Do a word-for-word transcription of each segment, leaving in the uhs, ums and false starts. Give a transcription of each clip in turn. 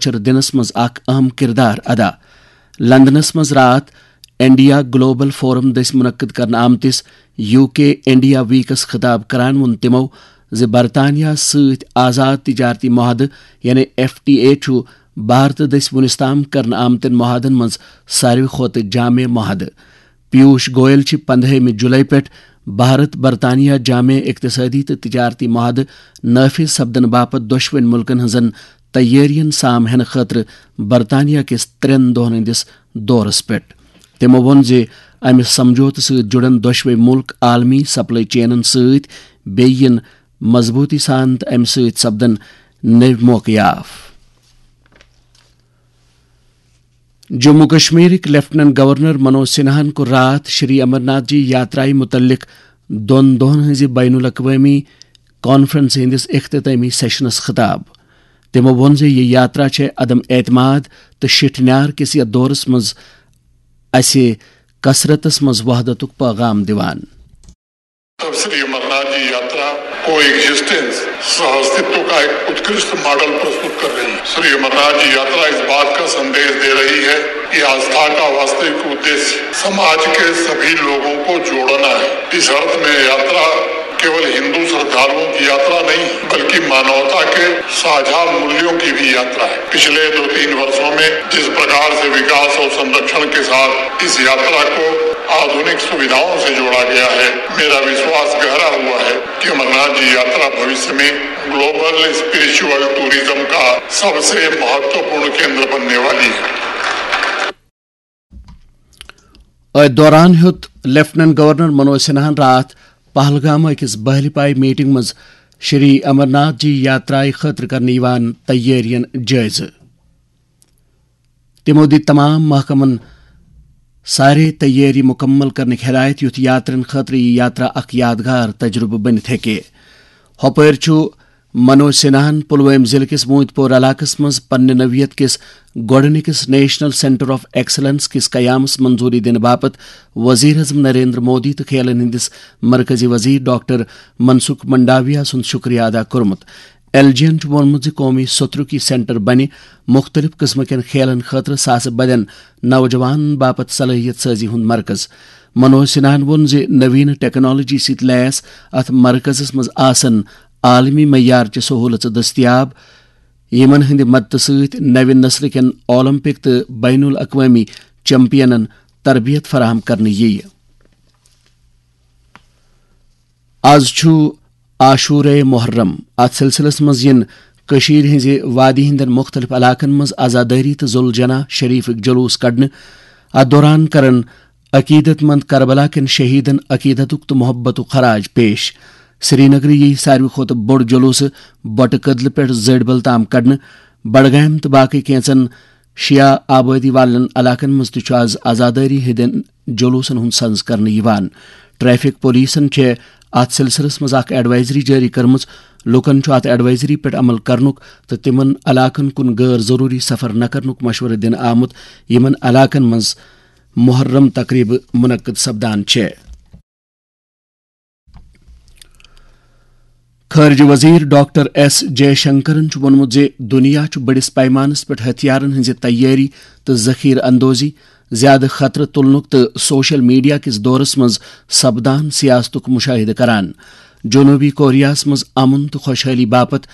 پوچھر دِنس منٛز اکھ اہم کردار ادا۔ لندنس منٛز راتھ انڈیا گلوبل فورم دٔسۍ منعقد کرنہٕ آمتِس یو کے انڈیا ویکس خطاب کران ووٚن تِمو زِ برطانیہ سۭتۍ آزاد تجارتی معاہدٕ یعنی ایف ٹی اے چھُ بھارتہٕ دٔسۍ وُنِس تام کرنہٕ آمتٮ۪ن معاہدن منٛز ساروی کھۄتہٕ جامع معاہدٕ۔ پیوش گوئل چھِ پندہٲیمہِ جولائی پٮ۪ٹھ بھارت برطانیہ جامع اقتصٲدی تہٕ تجارتی معاہدٕ نافذ سپدنہٕ باپتھ دۄشوٕنۍ مُلکن ہٕنٛزن تیٲرین سام ہینہٕ خٲطرٕ برطانیہ کِس ترٛٮ۪ن دۄہن ہٕنٛدِس دورس پٮ۪ٹھ۔ تِمو ووٚن زِ امہِ سمجھوتہٕ سۭتۍ جُڑن دۄشوے مُلک عالمی سپلائی چینن سۭتۍ، بیٚیہِ یِن مضبوٗطی سان تہٕ امہِ سۭتۍ سپدن نٔوۍ موقعہٕ یاف۔ جموں کشمیرٕکۍ لیفٹیننٹ گورنر منوج سنہاہن کوٚر راتھ شری امرناتھ جی یاترایہِ مُتعلق دۄن دۄہن ہٕنٛزِ بین الاقوٲمی کانفرنسہِ ہٕنٛدِس اختتٲمی سیشنس خطاب۔ تِمو ووٚن زِ یہِ یاترا چھےٚ عدم اعتماد تہٕ شِٹھ نیار کِس یتھ دورس منٛز اسہِ کثرتس منٛز وحدتُک پیغام دِوان۔ तब श्री अमरनाथ जी यात्रा को एग्जिस्टेंस, सह अस्तित्व का एक उत्कृष्ट मॉडल प्रस्तुत कर रही है। श्री अमरनाथ जी यात्रा इस बात का संदेश दे रही है कि आस्था का वास्तविक उद्देश्य समाज के सभी लोगों को जोड़ना है। इस अर्थ में यात्रा केवल हिंदू श्रद्धालुओं की यात्रा नहीं, बल्कि मानवता के साझा मूल्यों की भी यात्रा है। पिछले दो तीन वर्षों में जिस प्रकार से विकास और संरक्षण के साथ इस यात्रा को आधुनिक सुविधाओं से जोड़ा गया है, मेरा विश्वास गहरा हुआ है कि अमरनाथ जी यात्रा भविष्य में ग्लोबल स्पिरिचुअल टूरिज्म का सबसे महत्वपूर्ण केंद्र बनने वाली है। أتھۍ دوران ہیوٚت لیفٹیننٹ گورنر منوج سنہاہن راتھ پہلگام أکِس بہلہِ پایہِ میٹنگ منٛز شری امرناتھ جی یاترایہِ خٲطرٕ کرنہٕ یِوان تیٲرین جٲیزٕ۔ تِمو دِتۍ تمام محکمن سارے تیٲری مُکمل کرنٕکۍ ہدایت، یُتھ یاترین خٲطرٕ یہِ یاترا اکھ یادگار تجربہٕ بٔنِتھ ہیٚکہِ۔ ہۄپٲرۍ چھُ منوج سنہاہن پلوامہِ ضلعہٕ کِس موٗدۍ پور علاقس منٛز پننہِ نوعیت کِس گۄڈٕنِکِس نیشنل سینٹر آف ایکسلنس کِس قیامس منظوٗری دِنہٕ باپتھ وزیر اعظم نریندر مودی تہٕ کھیلن ہٕنٛدِس مرکزی وزیر ڈاکٹر منسکھ منڈاویا سُنٛد شُکریہ ادا کوٚرمُت۔ ایل جی ین چھُ ووٚنمُت زِ قومی سترُک یہِ سینٹر بنہِ مُختٔلِف قٕسمہٕ کٮ۪ن کھیلن خٲطرٕ ساسہٕ بٔدٮ۪ن نوجوانن باپتھ صلٲحیت سٲزی ہُنٛد مرکز۔ منوج سنہاہن ووٚن زِ نویٖنہٕ ٹیکنالوجی سۭتۍ لیس اتھ مرکزس منٛز آسن عالمی معیارچہِ سہوٗلژٕ دٔستیاب، یِمن ہٕنٛدِ مدتہٕ سۭتۍ نوِ نسلہٕ کٮ۪ن اولمپک تہٕ بین الاقوٲمی چیمپینن تربیت فراہم کرنہٕ یِیہِ۔ از چھُ عاشورے محرم۔ اتھ سلسلس منٛز یِن کٔشیٖرِ ہٕنٛزِ وادی ہٕنٛدٮ۪ن مُختٔلِف علاقن منٛز عزادٲری تہٕ ذوالجناح شریفٕکۍ جلوٗس کڑنہٕ۔ اتھ دوران کرن عقیدت مند کربلا کٮ۪ن شہیدن عقیدتُک تہٕ محبتُک خراج پیش۔ سرینگرٕ یِیہِ ساروی کھۄتہٕ بوٚڑ جلوٗسہٕ بۄٹہٕ کدلہٕ پٮ۪ٹھ زٲڈبل تام کڑنہٕ۔ بڈگامہِ تہٕ باقٕے کینٛژن شیعہ آبٲدی والٮ۪ن علاقن منٛز تہِ چھُ از عزادٲری ہٕنٛدٮ۪ن جلوٗسن ہُنٛد سنز کرنہٕ یِوان۔ ٹریفک پولیسن چھےٚ اتھ سلسلس منٛز اکھ ایڈوائزری جٲری کٔرمٕژ۔ لوٗکن چھُ اتھ ایڈوائزری پٮ۪ٹھ عمل کرنُک تہٕ تِمن علاقن کُن غٲر ضروٗری سفر نہ کرنُک مشورٕ دِنہٕ آمُت، یِمن علاقن منٛز محرم تقریبہٕ منعقد سپدان چھےٚ۔ خارجہ وزیر ڈاکٹر ایس جے شنکرن چھُ ووٚنمُت زِ دُنیا چھُ بٔڑِس پیمانس پٮ۪ٹھ ہتھیارن ہٕنٛزِ تیٲری تہٕ ذخیرٕ اندوزی، زیادٕ خطرٕ تُلنُک تہٕ سوشل میڈیا کِس دورس منٛز سپدان سیاستُک مشاہدٕ کران۔ جنوبی کوریاہس منٛز امن تہٕ خۄشحٲلی باپتھ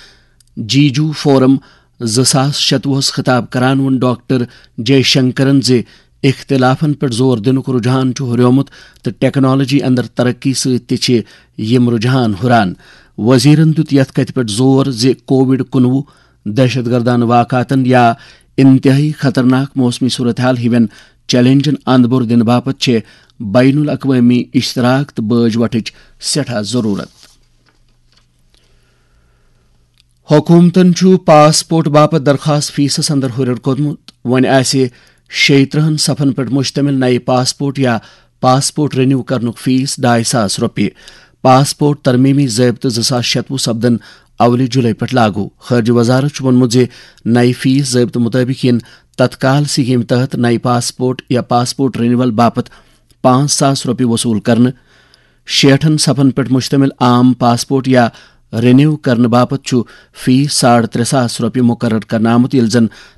جیجو فورم زٕ ساس شتوُہس خطاب کران ووٚن ڈاکٹر جے شنکرن زِ اختلافن پٮ۪ٹھ زور دِنُک رجحان چھُ ہُریومُت تہٕ ٹیکنالوجی اندر ترقی سۭتۍ تہِ چھِ یِم رجحان ہُران۔ وزیرن دیُت یتھ کتھِ پٮ۪ٹھ زور زِ کووڈ کُنوُہ، دہشت گردانہٕ واقعاتن یا انتہٲئی خطرناک موسمی صورتحال ہِوٮ۪ن چیلنجن اند بور دِنہٕ باپتھ چھِ بین الاقوٲمی اشتراک تہٕ بٲج وٹھٕچ سٮ۪ٹھاہ ضروٗرت۔ حکوٗمتَن چھُ پاسپورٹ باپتھ درخواست فیسَس اندر ہُرٮ۪ر کوٚرمُت۔ وۄنۍ آسہِ شیٚیہِ ترٕٛہَن صفن پٮ۪ٹھ مشتمل نَیہِ پاسپورٹ یا پاسپورٹ رینیو کرنُک فیس ڈاے ساس رۄپیہِ۔ پاسپورٹ ترمیمی ضٲبطہٕ زٕ ساس شتوُہ سپدن اولہِ جولائی پٮ۪ٹھ لاگو۔ خارجہ وزارت چھُ ووٚنمُت زِ نَیہِ فیس ضٲبطہٕ مُطٲبِق یِن تتکال سکیمہِ تحت نَیہِ پاسپورٹ یا پاسپورٹ رینیول باپتھ پانٛژھ ساس رۄپیہِ وصوٗل کرنہٕ۔ شیٹھن صفن پٮ۪ٹھ مشتمل عام پاسپورٹ یا رینیو کرنہٕ باپتھ چھُ فیس ساڑ ترٛےٚ ساس رۄپیہِ مقرر کرنہٕ آمُت، ییٚلہِ زن